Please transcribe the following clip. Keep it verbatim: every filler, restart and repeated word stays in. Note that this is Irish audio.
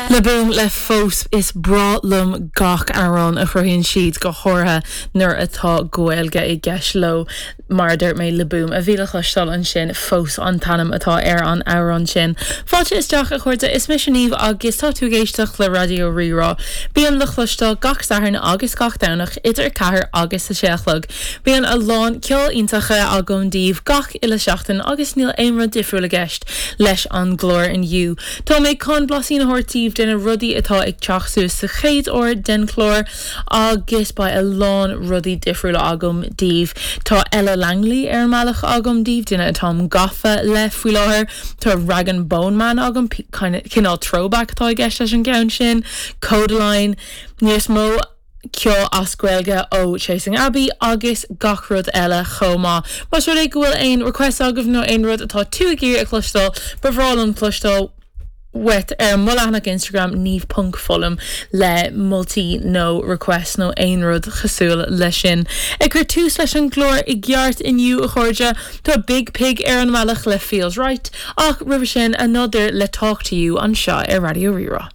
Le Boom le fós is breá liom gach amhrán a chruthaíonn siad go háirithe nuair atá Gaeilge i gceist leo mar dúirt mé Le Boom a bhí le cloisteáil ansin fós an t-ainm atá ar an amhrán sin. Fáilte isteach a chairde is mise Niamh agus tá tú ag éisteacht le Raidió Rí-Rá. Bím le cloisteáil gach Satharn agus gach Domhnach idir ceathair agus a sé a chlog. Bíonn a lán ceol iontacha agam daoibh gach uile seachtain agus níl aon rud difriúil i gceist leis an gclár inniu. Tá mé chun blaisín a thabhairt daoibh de na rudaí atá ag teacht suas sa chéad uair den chlár agus beidh a lán rudaí difriúla agam daoibh. Tá Ella Langley ar an mbealach agam daoibh duine atáim gafa le faoi láthair Tá Rag and Bone Man agam cineál throwback atá i gceist leis an gceann sin, Kodaline, níos mó ceol as Gaeilge ó Chasing Abbey agus gach rud eile chomh maith. Más rud é go bhfuil aon request agaibh nó aon rud atá tú ag iarraidh a chloisteáil ba bhreá liom cloisteáil uait ar mo leathanach Instagram niamh.fulham le moltaí nó request nó aon rud cosúil leis sin. Ag cur tús leis an gclár i gceart inniu a chairde tá Big Pig ar an mbealach le feels right ach roimhe sin another le talk to you anseo ar Raidió Rí-Rá.